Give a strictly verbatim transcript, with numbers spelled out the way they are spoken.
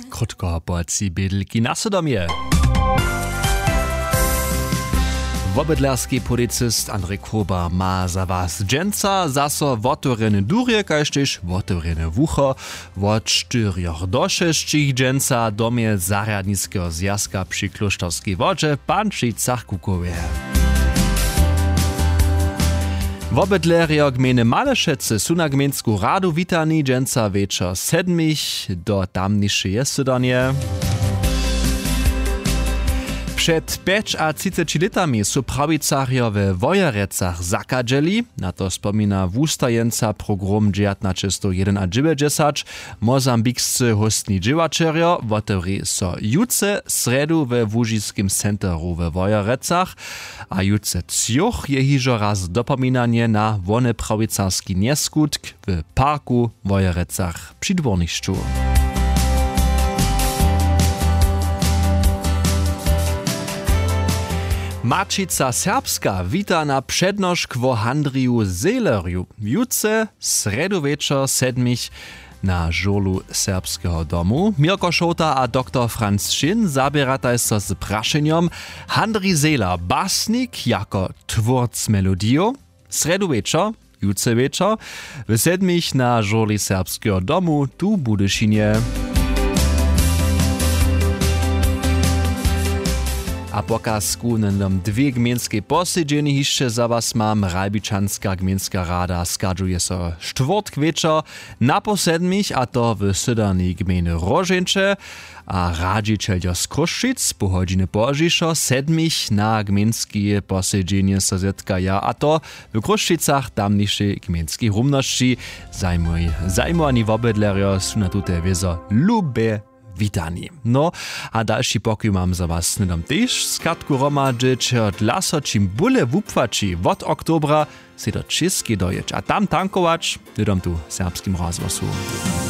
Krótko po tři bědlki na sydom je. Wobydlerski policist Andrej Kroba ma za was dźensa zaso wotewrjene durje kaž tež wotewrjene wucho. Wot štyrjoch do šesćich dźensa w domje zarjadniskeho zwjazka při klóšterskej wodźe w Pančicach-Kukowje. Wobydlerjo gmejny Malešecy su na gmejnsku radu witani dźensa wječor sedmich do tamnišeje sydanje. Před pjećatřiceći lětami su prawicarjo we Wojerecach zakadźeli. Na to spomina wustajeńca program dźewjatnaćestow jedynadźewjećdźesać. Mozambikscy hóstni dźěłaćerjo wotewri so jutře srjedu we łužiskim centeru we Wojerecach. A jutře třoch je hižo raz dopominanje na wone prawicarski njeskutk w parku w Wojerecach při dwórnišću. Maćica Serbska wita na přednošk wo Handriju Zehlerju. Jutře srjedu wječor sedmich na žurlu Serbskeho domu. Měrko Šołta a doktor Franc Šin zaběrataj so z prašenjom: Handrij Zehler, basnik jako twórc melodijow? Srjedu wječor, jutře wječor, w sedmich na žurli Serbskeho domu tu w Budyšinje. A pokazku hnydom dwě gmejnskej posedźenje hišće za was mam. Ralbičanska gmejnska rada schadźuje so štwórtk wječor na poł sedmich, a to w sydernej gmejny Róžeńće. A radźićeljo z Chrósćic poł hodźiny pozdźišo sedmich na gmejnske posedźenje so zetkaja, a to w Chrósćicach tamnišej gmejnskej rumnosći. Zajmowani wobydlerjo su na tute wězo lube witani. No, a dalši pokój mam za was hnydom tež. Skatku hromadźeć, dlaso čim bóle wupłaći wot oktobra, sej do Čěskej dojěć a tam tankować, hnydom tu w Serbskim rozhłosu.